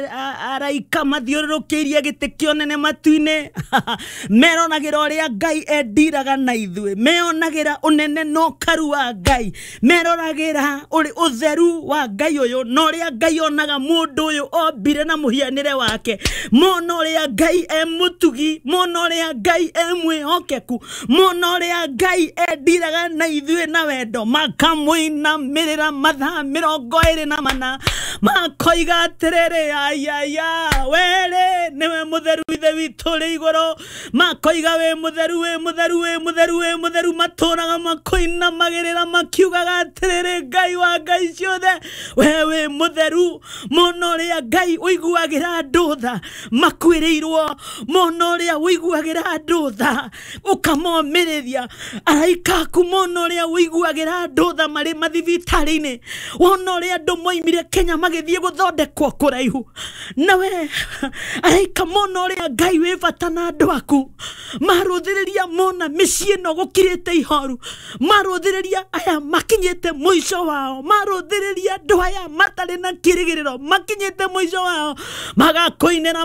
Araika mathiũrũrũkĩirie gĩtĩ kĩa ũnene matu-inĩ meronagĩra ũrĩa Ngai endiraga na ithuĩ, meonagĩra ũnene na ũkaru wa Ngai, meroragĩra ũrĩ ũtheru wa Ngai ũyũ na ũrĩa Ngai onaga mũndũ ũyũ ombire na mũhianĩre wake, mona ũrĩa Ngai e mũtugi, mona ũrĩa Ngai e mwĩhokeku, mona ũrĩa Ngai endiraga na ithuĩ na wendo, makamũinamĩrĩra mathaa 24, makoiga atĩrĩrĩ, ayaya, werĩ nĩwe mũtheru Ithe witũ ũrĩ igũrũ, makoiga wĩ mũtheru, wĩ mũtheru, wĩ mũtheru, wĩ mũtheru, matũraga makũinamagĩrĩra makiugaga atĩrĩrĩ, Ngai wa Ngai ciothe, we wĩ mũtheru. Mona ũrĩa Ngai ũiguagĩra andũ tha makuĩrĩirwo, mona ũrĩa ũiguagĩra andũ tha ũkamomĩrĩria, araika aku mona ũrĩa ũiguagĩra andũ tha marĩ mathibitarĩ-inĩ, wona ũrĩa andũ moimire Kenya magĩthiĩ gũthondekwo kũraihu nawe, araika mona ũrĩa Ngai wĩ bata na andũ aku, marũthĩrĩria mona mĩciĩ ĩno gũkirĩte ihoru, marũthĩrĩria aya makinyĩte mũico wao, marũthĩrĩria andũ aya matarĩ na kĩrĩgĩrĩro makinyĩte mũico wao, magakũinĩra.